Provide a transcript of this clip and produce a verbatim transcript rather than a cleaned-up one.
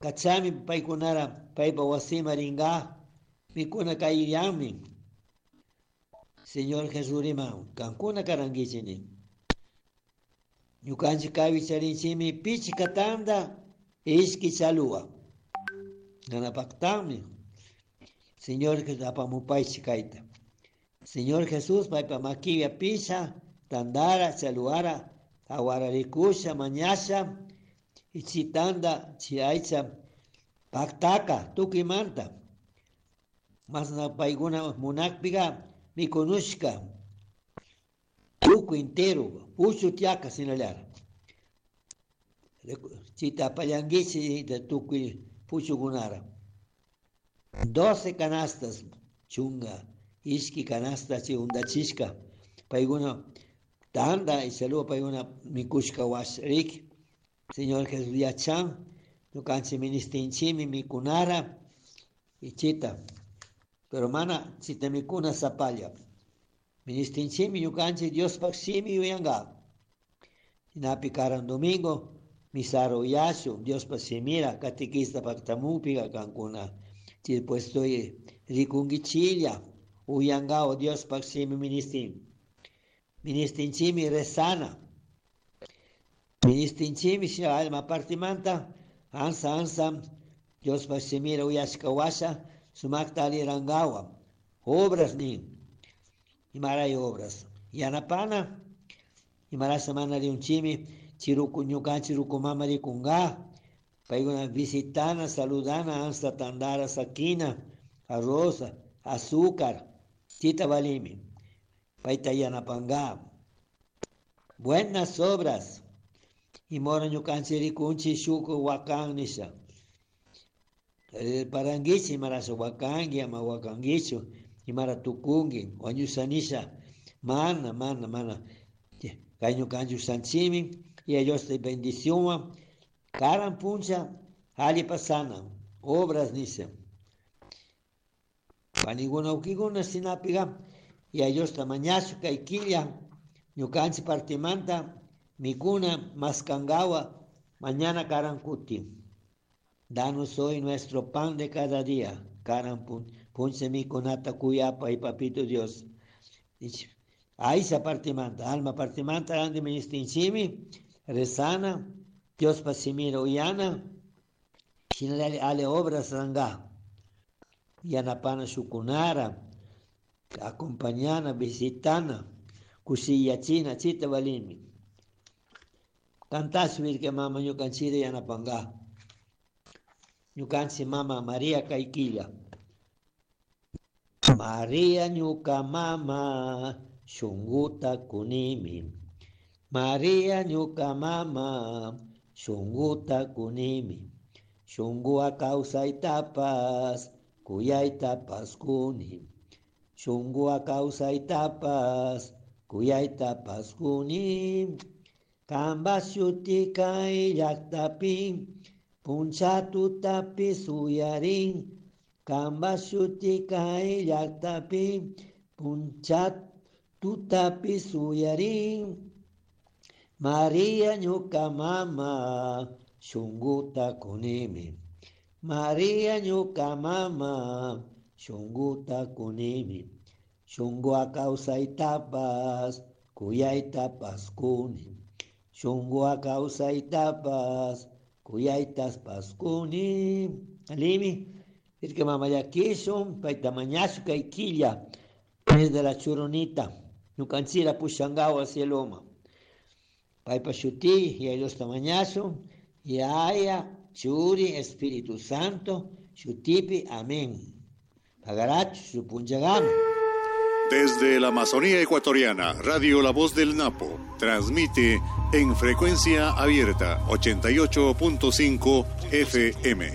Kachami paykunara paypa wasima ringa mikuna kayyanmi. Señor Jesús riman, kankuna karankichini. Ñukanchik kaypi charinchimi pichka tanda ishki chaluwa. Nanapaqtaqmi. Señor Jesús apamupaychik kayta. Señor Jesús paypa makipi pisha tandara chaluwara awara rikusha mañasha y tanda chi aycha paktaka tukuymanta. Masna paykuna munakpiqa mikunushka tukuy entero puchu tiaka sinallara. Chita apallankichik tukuy puchukunara. Doce canastas chunga ishki canasta chi undachishka paykuna tanda y saludo paykuna mikushka wasrik. Señor Jesús yachan ñukanchik ministinchimi mikunara y chita. Pero mana chita mikuna sapalla. Ministinchimi ñukanchik Diospaq shimi yuyanka. Shinapi karan domingo misara uyashun Diospaq shimira catequista paktamupiga kankuna. Chay puesto rikunkichilla uyankawa Diospaq shimi ministin. Ministinchimi rezana. Ministinchimi alma partimanta ansa ansa Diospaq shimira uyashka washa sumakta alirankawa. Obras nin. Imaray obras. Yanapana. Imarasha mana riunchimi chiruku ñukanchik ruku mama rikunka. Paykuna visitana, saludana, ansa tandara, sakina, arroz, azúcar, chita valimi. Payta yanapanka. Buenas obras. Imora ñukanchik rikunchik shuk wakan nisha. Parankichik imarasha wakanki ama wakankichu imara tukunki wañusha nisha. Mana, mana, mana. Kay ñukanchik ushanchimi y Dios te bendición. Karan puncha alli pasana obras nisha. Panikuna wawkikuna shinapiqa y a Diosta mañashu kay killa ñukanchik partimanta mikuna maskankawa mañana karan kutin. Danos hoy nuestro pan de cada día. Karan puncha mikunata kuyapay papito Dios. Aycha partimanta, alma partimanta ranti ministinchimi, rezana, Diospa shimira uyana, shinallari ali obras ranga. Yanapana shukunara, acompañana, visitana, kushiyachina, chita valimi. Cantash virka mama ñukanchira yanapanga. Ñukanchik mama María kay killa. María ñuka mama shunguta kunimi. María ñuka mama shunguta kunimi. Shunguwa kawsaytapas kuyaytapas kuni. Shunguwa kawsaytapas kuyaytapas kuni. Kamba shuti kay llaktapi puncha tutapi suyarin. Kamba shuti kay llaktapi puncha tutapi suyarin. María ñuka mama shunguta kunimi. María ñuka mama shunguta kunimi. Shunguwa kawsaytapas kuyaytapas kuni. Shunguwa kawsaytapas kuyaytapas kuni. Alimi, irka mama llakishun payta mañashu kay killa desde la churunita ñukanchira pushankawa cieloma. Paypa shuti y Diosta mañashun Yaya, Churi, Espíritu Santo, shutipi, amén. Pagarachu, supunchagama. Desde la Amazonía ecuatoriana, Radio La Voz del Napo transmite en frecuencia abierta ochenta y ocho punto cinco F M.